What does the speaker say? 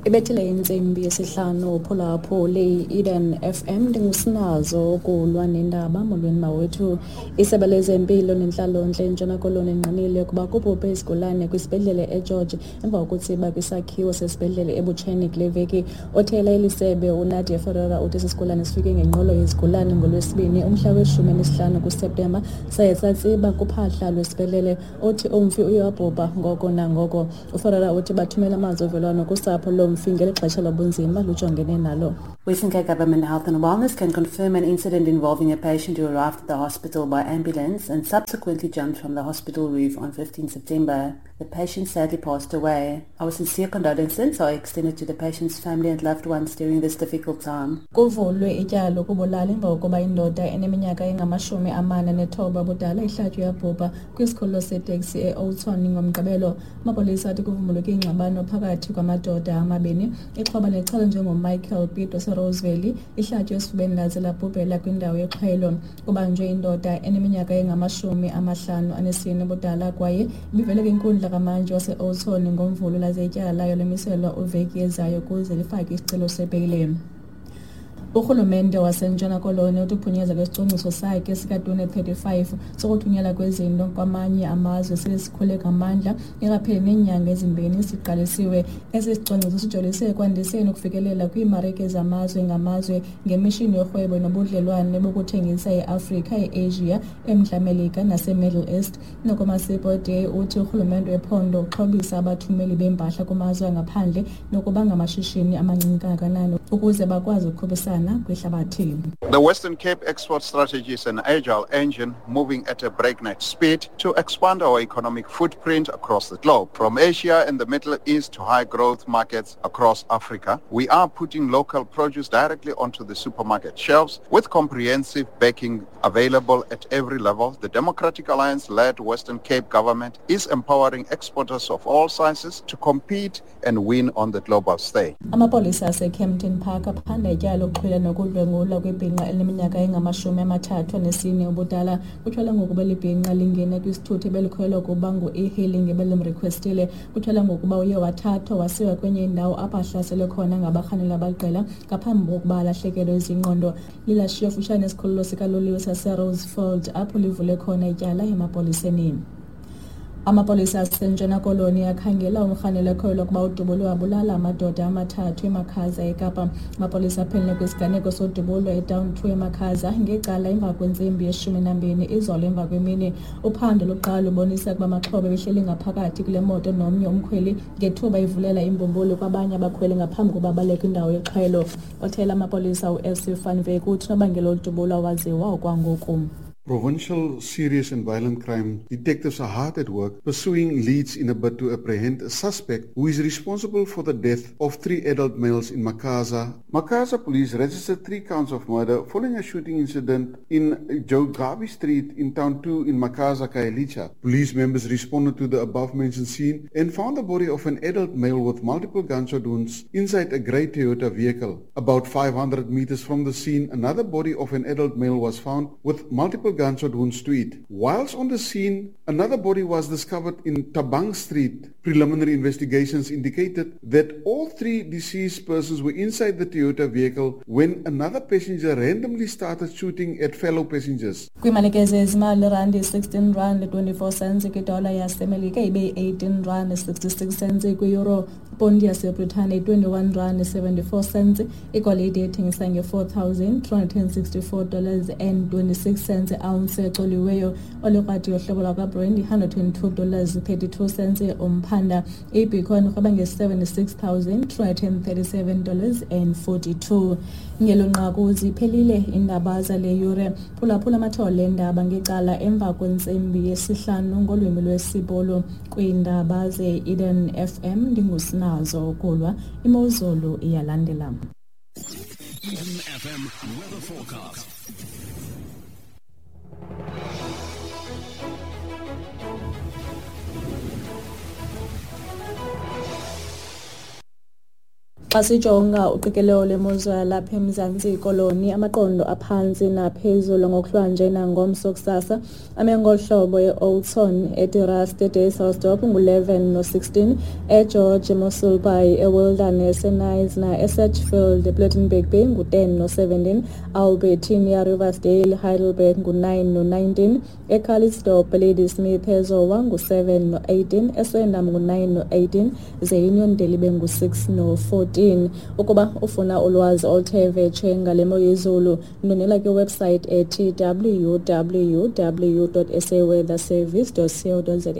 Ibethile intsimbi yesihlanu phulaphuli Eden FM, ndingusinazo ukulwa nendaba. Molweni mawethu. Isebe lezempilo nentlalontle eNtshona Koloni ingqinile ukuba kubhubhe isigulane kwisibhedlele eGeorge emva kokutsiba kwisakhiwo sesibhedlele eButsheni kule veki. Othela eli sebe uNadia Ferreira uthi esi sigulane sifike ngenqwelo yezigulane ngoLwesibini umhla we-15 kuSeptemba saye satsiba kuphahla lwesibhedlele. Uthi umfi uye wabhubha ngoko nangoko. UFerreira uthi bathumela amazwi ovelwano kusapho lomfi ngeli xesha lobunzima lujongene nalo. Western Cape Government Health and Wellness can confirm an incident involving a patient who arrived at the hospital by ambulance and subsequently jumped from the hospital roof on 15 September. The patient sadly passed away. Our sincere condolences are extended to the patient's family and loved ones during this difficult time. Kuvulwe ityala lokubulala emva kokuba indoda eneminyaka engama-49 ubudala ihlatywe yabhubha kwisikhululo seteksi e-Oudtshoorn ngoMgqibelo. Amapolisa athi kuvumbuluke ingxabano phakathi kwamadoda amabini. Ixhoba nelichazwa njengoMichael Pitt waseRoseville lihlatywe esifubeni laze labhubhela kwindawo yexhwelo. Kubanjwe indoda eneminyaka engama-54 ubudala kwaye ibivele kwinkundla kamantyi wase-Oudtshoorn ngoMvulo laze ityala layo lemiselwa uveki ezayo ukuze lifake isicelo sebheyile. Urhulumente waseNtshona Koloni uthi uphunyezwa kwesicwangciso sakhe sika-2035 sokuthunyelwa kwezinto kwamanye amazwe sele sikhule ngamandla ingakapheli neenyanga ezimbini siqalisiwe. Esi sicwangciso sijolise ekwandiseni ukufikelela kwiimarike zamazwe ngamazwe ngemishini yorhwebo nobudlelwane bokuthengisa eAfrika, eAsia, eMntla Melika naseMiddle East. Noko Masipo Day uthi urhulumente wephondo uxhobisa abathumeli beempahla kumazwe angaphandle nokuba ngamashishini amancinci kangakanani ukuze bakwazi ukukhuphisana kwihlabathi. The Western Cape export strategy is an agile engine moving at a breakneck speed to expand our economic footprint across the globe. From Asia and the Middle East to high growth markets across Africa, we are putting local produce directly onto the supermarket shelves with comprehensive backing available at every level. The Democratic Alliance-led Western Cape government is empowering exporters of all sizes to compete and win on the global stage. Amapolisa aseKempton Park aphanda ityala lokuxhwila nokudlwengulwa kwibhinqa elineminyaka engama-34 ubudala. Kutyholwa ngokuba eli bhinqa lingene kwisithuthi ebelikhwelwa ukuba ngu-e-hailing ebelimrikhwestile. Kutyholwa ngokuba uye wathathwa wasiwa kwenye indawo apho ahlaselwe khona ngabarhanelwa abaliqela ngaphambi kokuba alahlekelwe zingqondo. Lilashiywe kufutshane nesikhululo sikaloliwe saseRosefield apho livule khona ityala emapoliseni. Amapolisa aseNtshona Koloni akhangela umrhanelwa ekholelwa ukuba udubule wabulala amadoda amathathu eMakhaza eKapa. Amapolisa aphenele kwisiganeko sodubulo eDown 2 eMakhaza ngecala emva kwentsimbi ye-12 izolo emva kwemini. Uphando lokuqala lubonisa ukuba amaxhoba ebehleli ngaphakathi kule moto nomnye umkhweli ngethuba ivulela imbumbulu kwabanye abakhweli ngaphambi kokuba baleke kwindawo yexhwelo. Othela amapolisa u-SC van Wyk uthi unobangela wolu awaziwa okwangoku. Provincial serious and violent crime detectives are hard at work pursuing leads in a bid to apprehend a suspect who is responsible for the death of 3 adult males in Makhaza. Makhaza police registered 3 counts of murder following a shooting incident in Jogabi Street in Town 2 in Makhaza, Khayelitsha. Police members responded to the above-mentioned scene and found the body of an adult male with multiple gunshot wounds inside a grey Toyota vehicle. About 500 meters from the scene, another body of an adult male was found with multiple gunshot wounds to it. Whilst on the scene, another body was discovered in Tabang Street. Preliminary investigations indicated that all 3 deceased persons were inside the Toyota vehicle when another passenger randomly started shooting at fellow passengers. Kwiimalike zezimali, irandi 16 rand 24 cents kwidola yaseMelika, ibe yi-18 rand 66 cents kwi-euro. Iponti yaseBritane 21 rand 74 cents. Igolide ethengisa nge-$4,364 dollars and 26 cents ounce ecoliweyo. Olikrwadi yohlobo lwakwaBrent $122 dollars 32 cents umphanda. Ibitcoin irhweba nge-$76,337 dollars and 42. Ngelo nqaku ziphelile iindaba zale yure. Phulaphula amathole eendaba ngecala emva kwentsimbi yesihlanu ngolwimi lwesiBhulu kwiindaba ze-Eden FM. Ndingusinazo ukulwa. Imozulu iyalandela. Eden FM weather forecast. Xa sijonga uqikelelo lwemozulu yalapha eMzantsi Koloni, amaqondo aphantsi naphezulu ngokuhlwanje nangomso kusasa ame ngolu hlobo: e-Oudtshoorn, eTerrace, eDysselsdorp ngu-11 no-16, eGeorge, eMossel Bay, eWilderness, eKnysna, eSedgefield, ePlettenberg Bay ngu-10 no-17, Albertinia, Riversdale, Heidelberg ngu-9 no-19, eCalitzdorp, Ladysmith, eZowa ngu-7 no-18, eSwendam ngu-9 no-18, ze Uniondale ibe ngu-6 no-14. Ukuba ufuna ulwazi oluthe vetshe ngale mo yezulu, ndwendwela kwiwebsite ethi www.saweatherservice.co.za.